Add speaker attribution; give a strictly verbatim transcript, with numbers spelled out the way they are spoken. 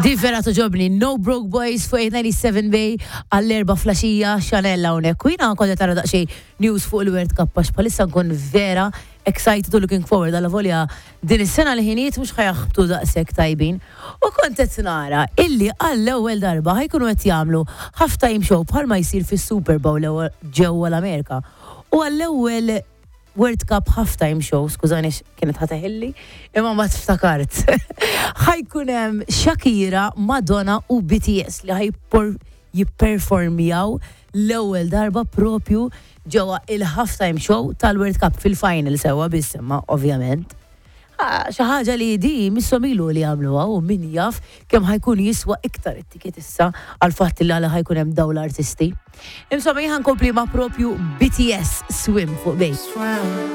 Speaker 1: Di vera togħġobni, No Broke Boys fuq eight ninety-seven Bay għall-erbgħa filgħaxija, Chanel hawnhekk. U jiena kont tara daqsxejn news fuq il-World Cup għax bħalissa nkun vera excited u looking forward, għalla volja din is-sena li ħinijiet mhux ħa jaħbtu daqshekk tajbin. U kont qed nara illi għall-ewwel darba ħa jkunu qed jagħmlu half-time show bħalma jsir fis-Super Bowl ġewwa l-Amerika. U għall-ewwel World Cup halftime show, skużani, kienet ħa teħilli, imma ma tiftakart. Ħa jkun hemm Shakira, Madonna u B T S li ħa jipperformjaw l-ewwel darba propju ġewwa il-halftime show tal-World Cup fil-final sewwa biss imma ovvjament. Ah, xi ħaġa li di misshom ilu li għamluha u min jaf kemm ħa jkun jiswa iktar it-ticket issa għal fatt li għala ħa jkun hemm dawn l-artisti. Insomma, jien nkompli ma' propju B T S, Swim fuq Bay.
Speaker 2: Swim.